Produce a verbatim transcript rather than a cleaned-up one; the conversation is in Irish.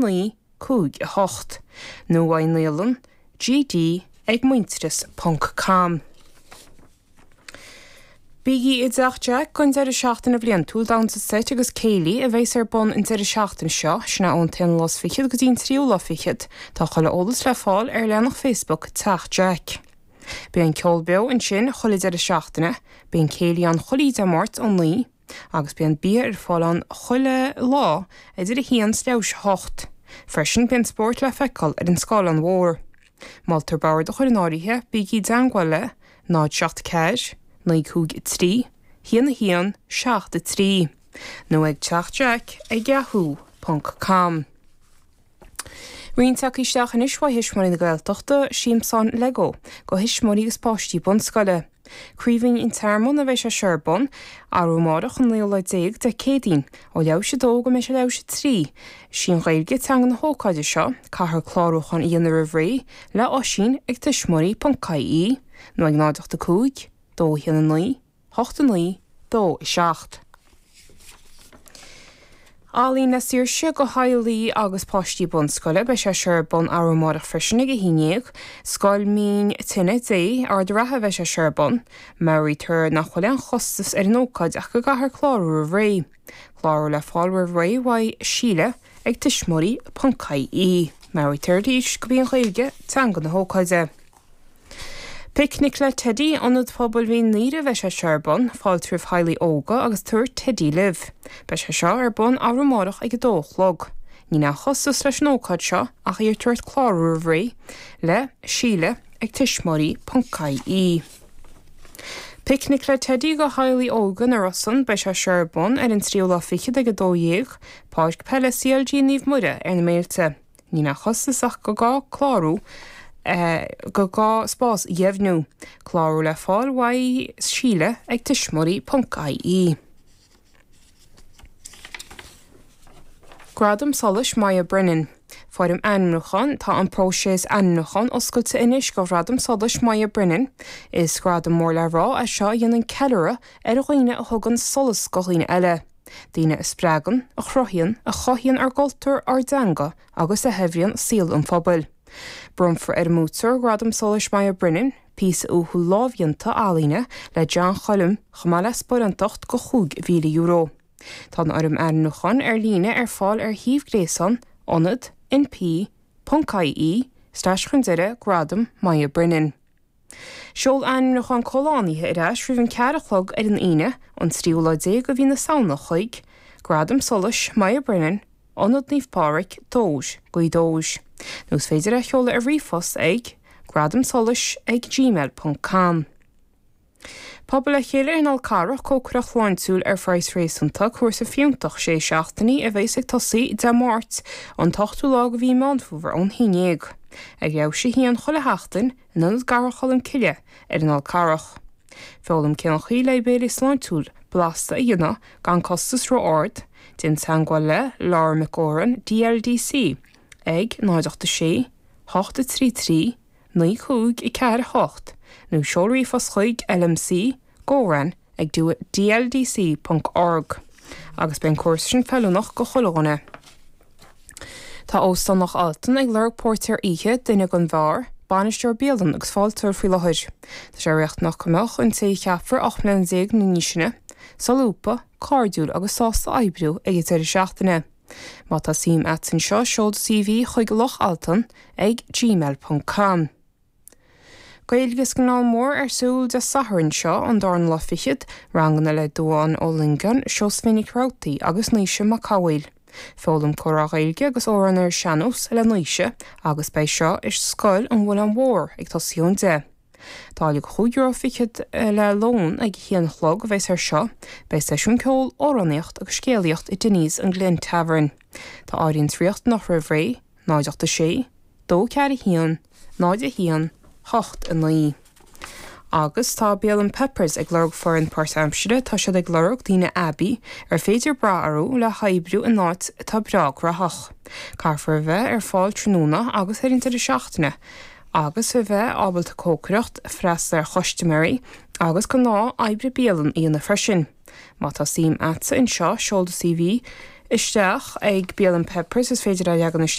naoi cúig a hocht nó uaidh naíolann GD ag muintearas ponc com. Bígí i dTeach Jack don deireadh seachtaine bhliantúil damhsa seit agus céilí a bheas ar bun an deireadh seachtaine seo, sin é ón t-aon lá is fichead go dtí an tríú lá fichead. Tá chuile eolas le fáil ar leathanach Facebook Teach Jack. Bíonn ceol beo ansin chuile deireadh seachtaine, bíonn céilí ann chuile Dé Máirt ón naoi, agus bíonn bia ar fáil ann chuile lá idir a haon is leathuair théis a hocht. Freisin bíonn spórt le feiceáil ar an scáileán mhór. Moltar bord a chur in áirithe, bígí i dteangmháil le náid seacht ceathair, naoi cúig trí, haon a haon, seacht a trí, nó ag teach jack ag yahoo ponc com. Roinnt tagtha isteach anois uaidh Thuismitheoirí na Gaeltachta, Siamsán Lego, do thuismitheoirí agus páistí bunscoile. Craoibhín an Tearmann a bheidh sé seo ar bun, arú amárach an naoú lá déag de Céadaoin, ó leathuair théis a dó go mbeidh sé leathuair théis a trí. Sí an Ghaeilge teanga na hócáide seo, caithfear clárúchán a dhéanamh roimh ré le Oisín ag tuismitheoirí ponc ie nó ag náid ocht a cúig, dó a haon a naoi, hocht a naoi, dó a seacht. Ealaín le Saoirse do theaghlaigh agus páistí bunscoile, beidh sé seo ar bun arú amárach freisin ag a haon déag. Scoil Mín Tine Dé, Ard an Rátha a bheidh sé seo ar bun. Meabhraítear nach bhfuil aon chostas ar an ócáid ach go gcaithfear clárú roimh ré. Clárú le fáil roimh ré uaidh Síle ag tuismitheoirí ponc ie. Meabhraítear arís gurb í an Ghaeilge teanga na hócáide. Picnic le Teidí, Ionad Pobail Mhín Doire a bheidh sé seo ar bun, fáilte roimh theaghlaigh óga agus tabhair Teidí libh. Beidh sé seo ar bun arú amárach ag a dó a chlog. Níl aon chostas leis an ócáid seo ach iarrtar ort clárú roimh ré le Síle ag tuismitheoirí ponc ie. Picnic le Teidí do theaghlaigh óga na Rosann, beidh sé seo ar bun ar an tríú lá fichead ag a dó dhéag, Páirc Peile CLG Naomh Muire ar na Méilte. Níl aon chostas ach go gá clárú go gá spás a dheimhniú. Clárú le fáil uaidh Síle ag tuismitheoirí ponc ie. Gradam Solais Moya Brennan. Foirm ainmniúcháin, Tá an próiseas ainmniúcháin oscailte anois do Ghradam Solais Moya Brennan. Is gradam mór le rá é seo a dhéanann ceiliúradh ar dhaoine a thugann solas do dhaoine eile. Daoine a spreagann, a chruthaíonn, a chothaíonn ár gcultúr, ár dteanga agus a shaibhríonn saol an phobail. Bronnfar ar an mbuaiteoir Gradam Solais Moya Brennan, píosa uathúil lámhdhéanta ealaíne le John Choilm chomh maith le sparánacht de chúig mhíle euro. Tá an fhoirm ainmniúcháin ar líne ar fáil ar shuíomh gréasáin ionad np ponc ie slash chun deireadh Gradam Moya Brennan. Seol ainmniúchán comhlánaithe ar ais roimh an ceathair a chlog ar an Aoine, an tríú lá déag de mhí na Samhna chuig Gradam Solais Moya Brennan, Ionad Naomh Pádraig, Dobhair, Gaoth Dobhair. Nó is féidir é a sheoladh ar ríomhphost ag gradamsolais ag gmail ponc com. Pobal le chéile ar an Fhál Carrach, cócaireacht shláintiúil ar phraghas réasúnta, cúrsa fiúntach sé seachtainí a bheas ag tosaí Dé Máirt, an t-ochtú lá de mhí Meán Fómhair ón haon déag. Ag leathuair théis a haon chuile sheachtain in Ionad Cathrach Cholm Cille ar an Fhál Carrach. Foghlaim cén chaoi le béile sláintiúil blasta a dhéanamh gan costas ró-ard, déan teagmháil le Laura McGoran, DLDC, ag náid ocht a sé, hocht a trí trí, naoi cúig a ceathair a hocht nó seol ríomhphost chuig lmc goran ag dldc ponc org agus beidh an cúrsa sin feiliúnach do chuile dhuine. Tá Óstán Loch Altan ag lorg póirtéir oíche, duine don bheár, bainisteoir bialann agus fáilteoir faoi láthair. Tá sé riachtanach go mbeadh an té a cheapfar ocht mbliana déag nó níos sine, solúbtha, cairdiúil agus sásta oibriú ag an deireadh seachtaine. Má tá suim a't anseo, seol do CV chuig Loch Altan ag gmail ponc com. Gaeilge sa nGleann Mór ar siúl Dé Sathairn seo, an darna lá fichead, ranganna le Dubhán Ó Loingeáin, Seosaimhín Nic Rabhartaigh agus Naoise Mac Cathmhaoil. Foghlaim comhrá Gaeilge agus amhráin ar an sean-nós le Naoise agus beidh seo i Scoil an Mhuileann Mhór ag tosaí ón deich. Táille chúig euro fichead le lón ag a haon a chlog a bheas ar seo. Beidh seisiún ceoil, amhránaíocht agus scéalaíocht i Denny's an Glen Tavern. Tá áirithint riachtanach roimh ré, náid ocht a sé, dó ceathair a haon, náid a haon, hocht a naoi. Agus tá Bialann Peppers ag lorg foireann páirtaimsire, tá siad ag lorg daoine aibí ar féidir brath orthu le hoibriú in áit atá breá graitheach. Caithfear a bheith ar fáil tráthnóna agus ar an deireadh seachtaine agus a bheith ábalta cócaireacht, freastal ar chustaiméirí agus gnáth oibre bialann a dhéanamh freisin. Má tá suim a'tsa anseo, seol do CV isteach ag Bialann Peppers is féidir a leagan